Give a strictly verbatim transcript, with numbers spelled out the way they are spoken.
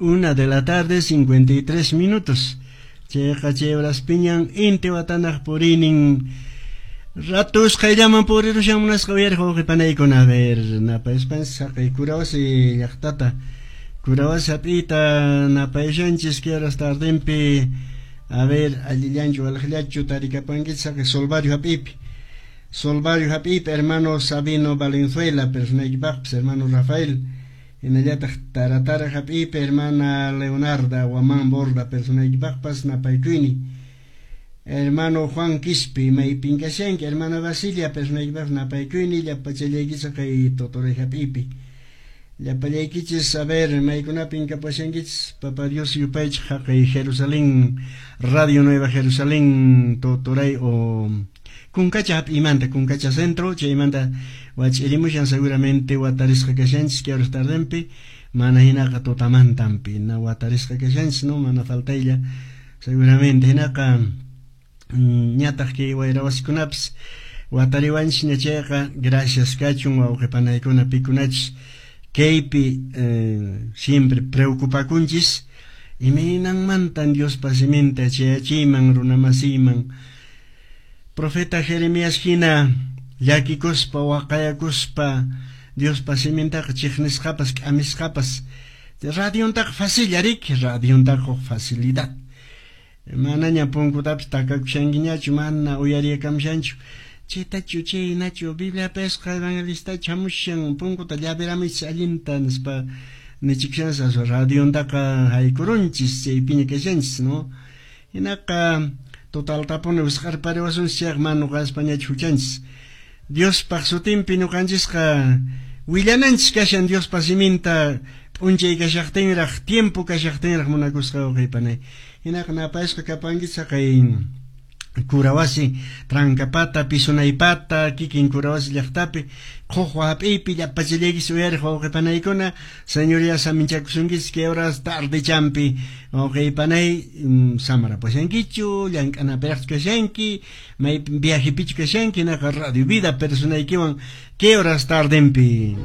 Una de la tarde, cincuenta y tres minutos. Chayqa chay horaspiñan intiwatanaq purinin ratus qayllaman purirushan munasqa uyariq wawqipanaykuna. A ver, napayuspanchis haqay Kurawasi llaqtata, Kurawasi hap'iyta napayushanchis kay horas tardenpi. A ver, allillanchu walaqllachu tarikapankichis haqay Solvario hap'iypi. Solvario hap'iypi hermano Sabino Valenzuela, personaykipaqpis hermano Rafael. Hinallataq Taratara hap'iypi hermana Leonarda Guamán Borda, personaykipaqpas napaykuyni. Hermano Juan Quispe, maypin kashanki, hermana Basilia, personaykipaq napaykuyni, llapachallaykichis kay Totoray hap'iypi. Llapallaykichis, a ver, maykunapin kapashankichis, Papa Dios yupaychik haqay Jerusalén, Radio Nueva Jerusalén, Totoray o Kunkacha hap'imanta, Kunkacha Centro, chaymanta wach'irimushan seguramente watarisqa kashanchis kay horas tardenpi, mana hinaqa tutamantanpi, na watarisqa kashanchis, no, mana faltaylla seguramente hinaqa ñataq kay wayrawasikunapis watariwanchis ña chayqa, gracias kachun wawqipanaykuna pikunachis kaypi eh, siempre preocupakunchis imaynanmantan Diospa siminta chayachiyman runamasiyman. Profeta Jeremías hina llakikuspa waqayakuspa Diospa simintaqa chiqnisqapas k'amisqapas radiontaqa facil riki, radiontaqa facilidad. Manaña punkutapis takakushankiñachu, mana uyariyakamushanchu. Chaytachu chaynachu Bibliapisqa evangelistachu hamushan punkuta llaviramuychis allinta nispa nichikushanchis, radiontaqa haykurunchis chaypiña kashanchis, no? Hinaqa totaltapuni wisq'arpariwasunchis chayqa mana nuqaspañachu huchanchis. Diospaq sutinpi ñuqanchisqa willananchis kashan Diospa siminta p'unchay kashaqtinraq, tiempo kashaqtinraq munakusqa wawqipanay. Hinaqa napayusqa kapankichis haqay Kurawasi, Trancapata, Pisunaypata, kikin Kurawasi llaqtapi, Qhuqwa hap'iypi llapachallaykichis uyariq wawqipanaykuna, señoría saminchakusunkichis kay horas tardechampi wawqipanay, samarapashankichu, llank'anapiraqchu kashanki, maypi viajepichu kashanki, hinaqa Radio Vida personaykiwan kay horas tardenpi.